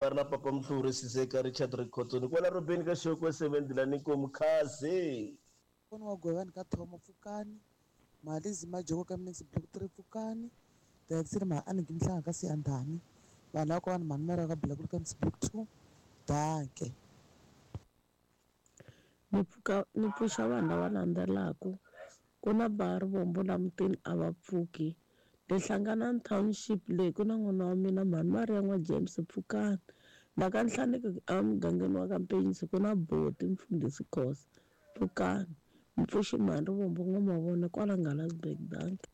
Ri na papa Mhluri Siseka Richard Rikhotsoni kwala Robeni ka Xokwe 7 Dilani Nkomu Khazi. Kona wa Gwevani ka Thomo pfukani, Malizi Majoko ka Mnisi Block 3 pfukani, Daxile Maaniki Mhlanga ka Siyandhani, vanhu lava kwani Mhani Mara ka Black ka Mnisi Block 2. Danke. Ni pfuka ni pfuxa vanhu lava landzelaka ku na ba Rivombo la mutini a va pfuki le Hlanganani Township leyi ku na n'wana wa mina mhani Maria n'wa James pfukani la ka Nhlaneki emugangeni wa ka Mpenyisi ku na Boti mfundhisi Khosa pfukani ni pfuxi mhani Rivombo n'wa Mavona kwala Ngalasburg dankie.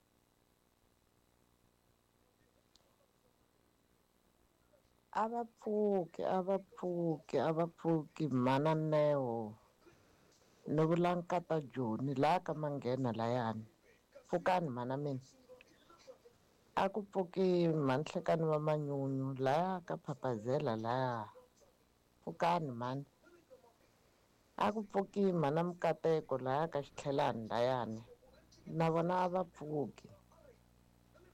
A va pfuki a va pfuki a va pfuki mhana Neo ni vula nkata Joni laha ka Manghena layani pfukani mhana mina a ku pfuki mhani Hlekani va Manyunyu laya ka Phaphazela laya pfukani mhani a ku pfuki mhana Mikateko laya ka Xitlhelani layani na vona a va pfuki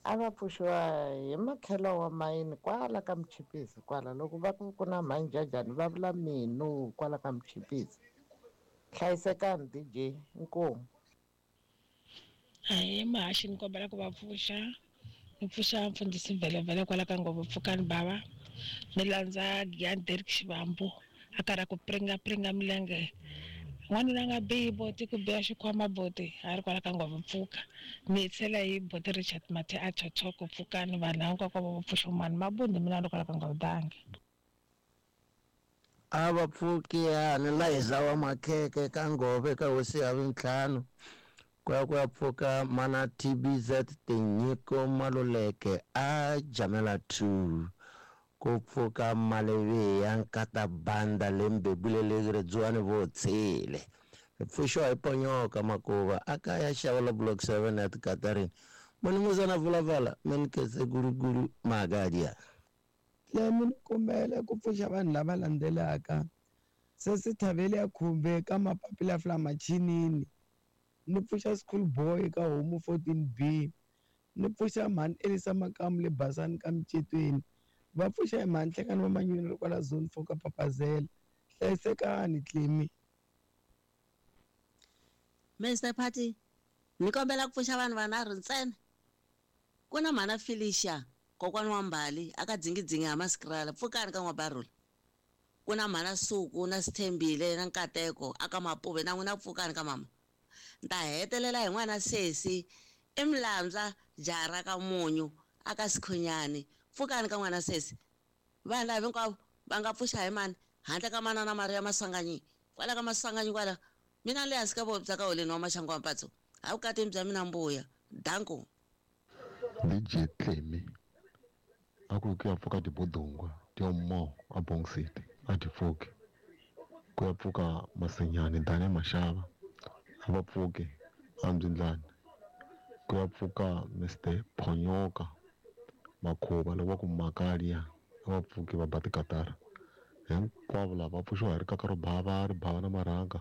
a va pfuxiwa hi makhelo wa mayini kwala ka Muchipisi kwala loko va ku ku na mhani Jajani va vula minu kwala ka Muchipisi hlayisekani DJ inkomu. Ahee muhaxi ni kombela ku va pfuxa ni pfuxa mfundhisi Mvelevele kwala ka Nghovo pfukani bava ni landza Giyani Derek Xivambu a karhi a ku pringa pringa milenge n'wanuna a nga bihi boti ku biha xikhwama boti a ri kwala ka Nghovo pfuka ni tlhela hi boti Richard Mathe a thotho ku pfukani vanhu hinkwako va pfuxa mani mabundi mina ni kwala ka Nghovo dangi. A va pfuki yani Liza wa Makheke ka Ngove ka hosi ya vintlhanu ku ya ku ya pfuka mana TBZ Tinyiko Maluleke a Jamela 2 ku pfuka Maleviya nkata banda lembebule le Redzuwani vo tshile ri pfuxiwa hi Ponyoka Makuva a kaya xava block 7 ya Tikatarini Munumuzana Vulavala Menkese Gulugulu Magadia. Lemi ni kombela ku pfuxa vanhu lava landzelaka se Thavele ya Khumbe ka Mapapila Flamachinini ni pfuxa school boy ka Homu 14B ni pfuxa mhani Elisa Makamu le Basani ka Micetweni va pfuxa hi mhani Hlekani va Manyunyu kwala zone 4 ka Papazela hlayisekani Tlemi. Mr Party ni kombela ku pfuxa vanhu vanharhu ntsena ku na mhana Felicia kokwana wa Mbali aka dzingidzingi ha Maskrala pfukani ka N'wabarula ku na mhana Suku na Sithembile na Nkateko aka Mapuve na n'wina pfukani ka mama ni ta hetelela hi n'wana sesi i Mlandza jaha ra ka Munyu aka Sikhunyani pfukani ka n'wana sesi vanhu lava hinkwavo va nga pfuxa hi mani handle ka manana Maria Maswanganyi kwala ka Maswanganyi kwala mina le hansi ka voho bya ka holeni wa maxangu wa mpatso a vukatini bya mina mbuya danko. DJ Tlemi a ku ku ya pfuka tibodungwa tiomo a Bong City a ti pfuki ku ya pfuka Masinyani Dani Mashava a va pfuki a Mbyindlani ku ya pfuka Mr Phonyoka Makhuva loko va ku Makalia a va pfuki va ba tikatara hinkwavo lava va pfuxiwa hi rikaka ro bava ri bava na marhanga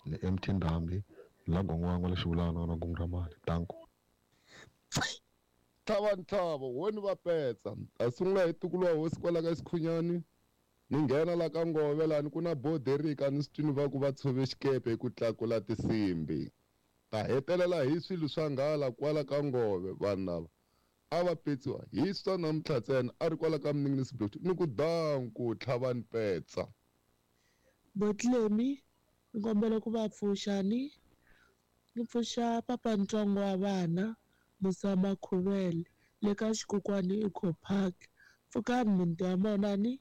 ni MT Ndhambi la gongwangwa la xivulana na gungu ra mali danko. Tlhava ntlhava woni va petsa a sungula hi tukulu wa hosi kwala ka Sikhunyani ni nghena la ka Ngove lani ku na boderika ni swi twini va ku va tshove xikepe hi ku tlakula tinsimbi ta hetelela hi swilo swa nghala kwala ka Ngove vanhu lava a va petsiwa hi swa namuntlha ntsena a ri kwala ka Mninginisi Block ni ku danku tlhavani petsa. Botlemi ni kombela ku va pfuxa ni ni pfuxa papa ntsongo wa vana Musa Makhuvele le ka Xikukwani Eco Park pfukani muti wa mona ni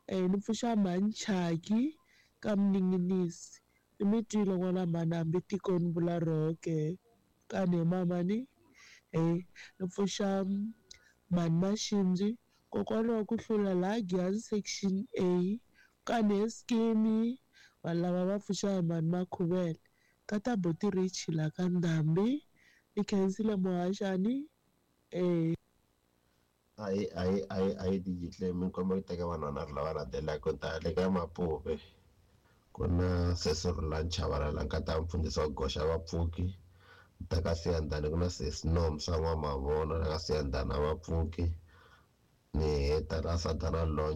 ni pfuxa mhani Chaki ka Mninginisi ni mi twile n'wana mhani hambi tiko ni vula roho ke kani hi mama ni ni pfuxa mhani Maxindzi kokwana wa ku hlula laha Giyani section A kani he Skimi vanhu lava va pfuxa hi mhani Makhuvele ka ta Boti Rich la ka Ndhambi ni khensile muhaxani Ayi ayi ayi ayi DJ Tlemi ni kombela ku teka vanhu vanharhu lava landzelaka ta le ka Mapuve ku na sesi Rhulani Chavalala nkata mfundhisi wa goxa vapfuki ta ka Siyandhani ku na sesi Nomsa N'wamavona la ka Siyandhani a va pfuki ni heta la Sadana Longe.